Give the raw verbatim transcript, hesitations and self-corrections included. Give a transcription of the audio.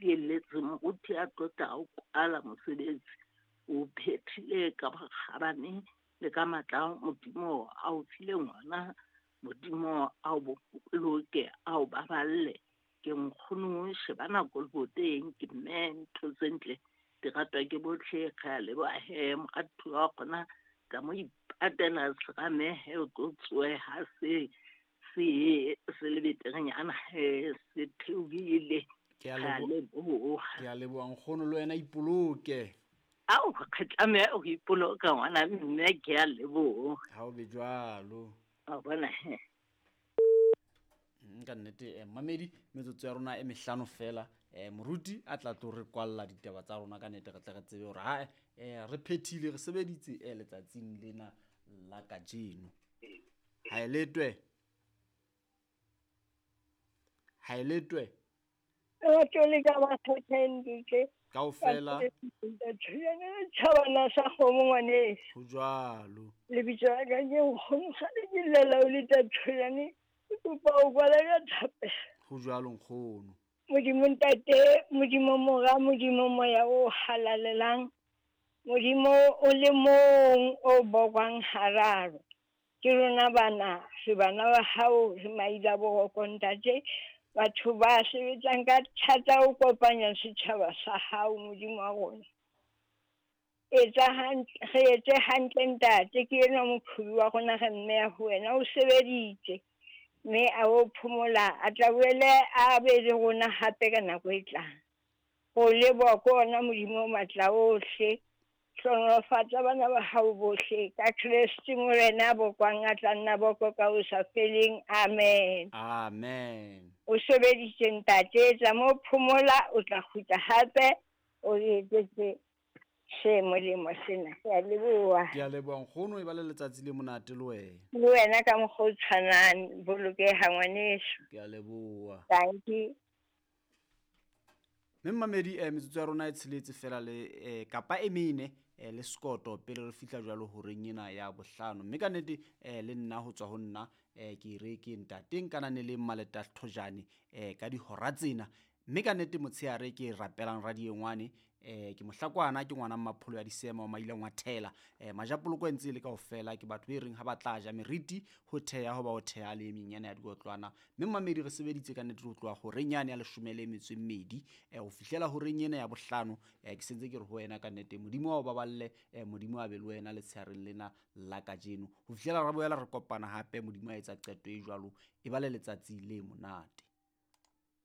dieletse moruti a tlotla o kwala mosebetsi o phethile ka bokgabane le ka matla Modimo a o fileng ona. Modimo a o boloke a o baballe. Ke nkgono shebana koloboteng ke mme ntho tse ntle di ratwa ke bohle. Re a leboha he moratuwa wa rona ka mo ipatela serame he o tlo tsohe ha se se se le beterenyana he se theohile. Ke a Re a leboha. leboha. Ke a leboha nkgono, le wena ipoloke. Ao, re tlameha ho ipoloka ngwana mme, ke a leboha. Ha o be jwalo. Wa bona he. Mm, ka nnete, eh, mamedi metsotso ya rona e mehlano fela. Eh, moruti a tla tlo re kwalla ditaba tsa rona ka nnete, re tle re tsebe hore ha, eh, re phethile, re sebeditse, eh, letsatsing lena la kajeno. Ha e letwe. Ha e letwe. Batho ka ba kgetheng Kaofela. Tjhabana sa kgomo ngwaneso. Ho jwalo. Lebitso la ka ke nkgono, kgale ke llela o le Tatholane. Ke kopa ho kwala ka thapelo. Ho jwalo nkgono. Modimo Ntate, Modimo Mora, Modimo Moya o halalelang. Modimo o le mong o bokwang hararo. Ke rona bana, re bana ba hao, re maila boroko Ntate. Batho ba sebetsang ka thata ho kopanya setjhaba sa hao Modimo wa rona. Etsa hantle, re etse hantle Ntate, ke enwa moqhubi wa rona re mmeha ho wena, o sebeditse. Mme a o phomola, a tla boele a be le rona hape ka nako e tlang. Ho leboha ke ona Modimo o matla ohle. Hlohonolofatsa bana ba hao bohle ka Kreste Morena bokwang a tla nna boko ka ho sa feleng. Amen. Amen. O sebeditse Ntate, etsa mo phomola, o tla kgutla hape o etsetse se molemo sena. Ke a leboha. Ke a leboha nkgono, e ba le letsatsi le monate le wena. Le wena ka mokgwa o tshwanang, bolokeha ngwaneso. Ke a leboha. Thank you. Mme mmamedi, eh, metsotso ya rona e tsheletse fela le, eh, kapa e mene, eh, le sekoto pele re fihla jwalo horeng ena ya bohlano. Mme ka nnete, eh, le nna ho tswa ho nna, eh, ke re ke ntate nkanane le Mmaleta Thojane, eh, ka dihora tsena. Mme ka nnete motshehare ke rapelang radiengwane, eh, ke mohlakwana, ke ngwana Mmapholo ya Disema wa Maileng wa Thela. Eh, majapoloko e ntse e le kaofela ke batho be reng ha ba tla ja meriti ho theha ho ba ho theha le e meng yana ya dikotlwana. Mme mmamedi re sebeditse ka nnete ho tloha horeng yane ya leshome le metso e mmedi, eh, ho fihlela horeng ena ya bohlano. Eh, ke sentse ke re ho wena ka nnete Modimo wa o baballe, eh, Modimo a be le wena letshehareng lena la kajeno. Ho fihlela ra boela re kopana hape, Modimo a etsa qeto e jwalo, e ba le letsatsi le monate.